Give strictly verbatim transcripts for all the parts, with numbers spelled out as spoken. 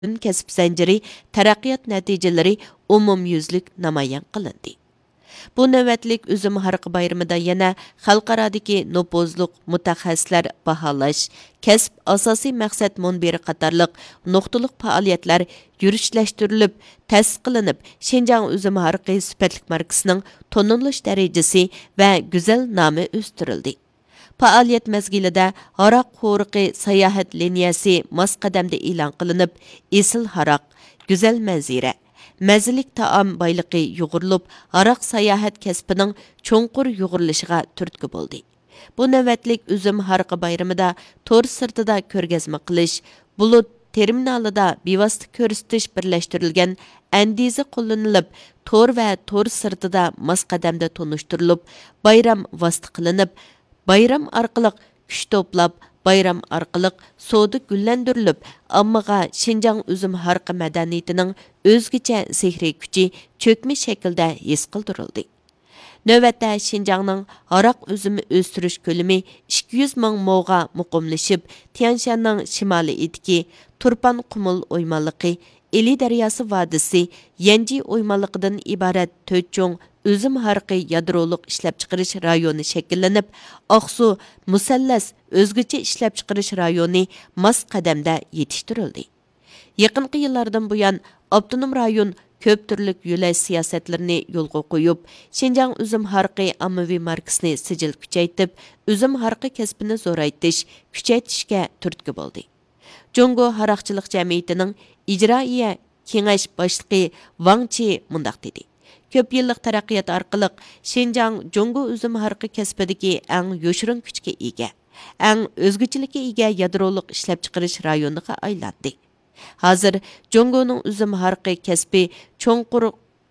پۈتۈن كەسىپ زەنجىرى تەرەققىيات نەتىجىلىرى ئومۇميۈزلۈك نامايان قىلىندى. بۇ نۆۋەتلىك ئۈزۈم ھارىقى بايرىمىدا يەنە خەلقئارادىكى نوپۇزلۇق مۇتەخەسسىسلەر باھالاش، كەسىپ ئاساسىي مەقسەت مۇنبىرى قاتارلىق نۇقتىلىق پائالىيەتلەر يۈرۈشلەشتۈرۈلۈپ، تەسىس قىلىنىپ، شىنجاڭ ئۈزۈم ھارىقى سۈپەتلىك ماركىسىنىڭ تونۇلۇش دەرىجىسى ۋە گۈزەل نامى ئۆستۈرۈلدى. پائالىيەت مەزگىلىدە ھاراق قورۇقى ساياھەت لىنىيەسى ماس قەدەمدە ئېلان قىلىنىپ، ئېسىل ھاراق، گۈزەل مەنزىرە، مەززىلىك تائام بايلىقى يۇغۇرۇلۇپ، ھاراق ساياھەت كەسپىنىڭ چوڭقۇر يۇغۇرۇلۇشىغا تۈرتكە بولدى. بۇ نۆۋەتلىك ئۈزۈم ھارىقى بايرىمىدا تور سىرتىدا كۆرگەزمە قىلىش، بۇلۇت تېرمىنالىدا بىۋاسىتە كۆرسىتىش بىرلەشتۈرۈلگەن ئەندىزە قوللىنىلىپ، تور ۋە تور سىرتىدا ماس قەدەمدە تونۇشتۇرۇلۇپ، بايرام ۋاسىتە قىلىنىپ، بايرام ئارقىلىق كۈچ توپلاپ، بايرام ئارقىلىق سودا گۈللەندۈرۈلۈپ، ئاممىغا شىنجاڭ ئۈزۈم ھارىقى مەدەنىيىتىنىڭ ئۆزگىچە سېھرىي كۈچى چۆكمە شەكىلدە ھېس قىلدۇرۇلدى. نۆۋەتتە شىنجاڭنىڭ ھاراق ئۈزۈمى ئۆستۈرۈش كۆلىمى ئىككى يۈز مىڭ موغا مۇقىملىشىپ، تيەنشاننىڭ شىمالىي ئېتىكى، تۇرپان قۇمۇل ئويمانلىقى، ئىلى دەرياسى ۋادىسى، يەنجى ئويمانلىقىدىن ئىبارەت تۆت چوڭ ئۈزۈم ھارىقى يادرولۇق ئىشلەپچىقىرىش رايونى شەكىللىنىپ، ئاقسۇ مۇسەللەس ئۆزگىچە ئىشلەپچىقىرىش رايونى ماس قەدەمدە يېتىشتۈرۈلدى. يېقىنقى يىللاردىن بۇيان، ئاپتونوم رايون كۆپ تۈرلۈك يۆلەش سىياسەتلىرىنى يولغا قويۇپ، شىنجاڭ ئۈزۈم ھارىقى ئاممىۋى ماركىسىنى سىجىل كۈچەيتىپ، ئۈزۈم ھارىقى كەسپىنى زورايتىش، كۈچەيتىشكە تۈرتكە بولدى. جۇڭگو ھاراقچىلىق جەمئىيىتىنىڭ ئىجرائىيە كېڭەش باشلىقى ۋاڭ چى مۇنداق دېدى: كۆپ يىللىق تەرەققىيات ئارقىلىق شىنجاڭ جۇڭگو ئۈزۈم ھارىقى كەسپىدىكى ئەڭ يوشۇرۇن كۈچكە ئىگە، ئەڭ ئۆزگىچىلىككە ئىگە يادرولۇق ئىشلەپچىقىرىش رايونىغا ئايلاندى. ھازىر جۇڭگونىڭ ئۈزۈم ھارىقى كەسپى چوڭقۇر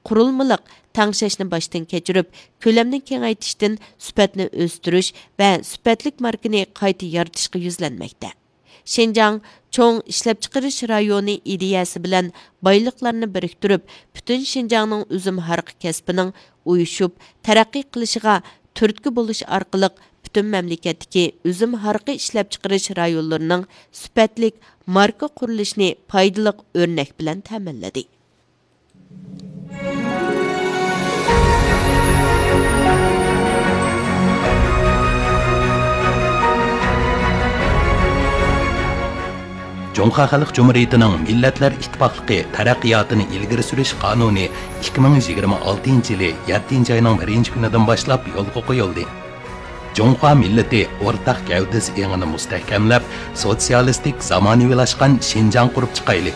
قۇرۇلمىلىق تەڭشەشنى باشتىن كەچۈرۈپ، كۆلەمنى كېڭەيتىشتىن سۈپەتنى ئۆستۈرۈش ۋە سۈپەتلىك ماركىنى قايتا يارىتىشقا يۈزلەنمەكتە. شىنجاڭ چوڭ ئىشلەپچىقىرىش رايونى ئىدىيەسى بىلەن بايلىقلارنى بىرىكتۈرۈپ، پۈتۈن شىنجاڭنىڭ ئۈزۈم ھارىقى كەسپىنىڭ ئۇيۇشۇپ تەرەققىي قىلىشىغا تۈرتكە بولۇش ئارقىلىق، پۈتۈن مەملىكەتتىكى ئۈزۈم ھارىقى ئىشلەپچىقىرىش رايونلىرىنىڭ سۈپەتلىك ماركا قۇرۇلۇشىنى پايدىلىق ئۆرنەك بىلەن تەمىنلىدى. جۇڭخۇا خەلق جۇمھۇرىيىتىنىڭ مىللەتلەر ئىتتىپاقلىقى تەرەققىياتىنى ئىلگىرى سۈرۈش قانۇنى ئىككى مىڭ يىگىرمە ئالتىنچى يىلى يەتتىنچى ئاينىڭ بىرىنچى كۈنىدىن باشلاپ يولغا قويۇلدى. جۇڭخۇا مىللىتى ئورتاق گەۋدىسى ئېڭىنى مۇستەھكەملەپ، سوتسىيالىستىك زامانىۋىلاشقان شىنجاڭ قۇرۇپ چىقايلى.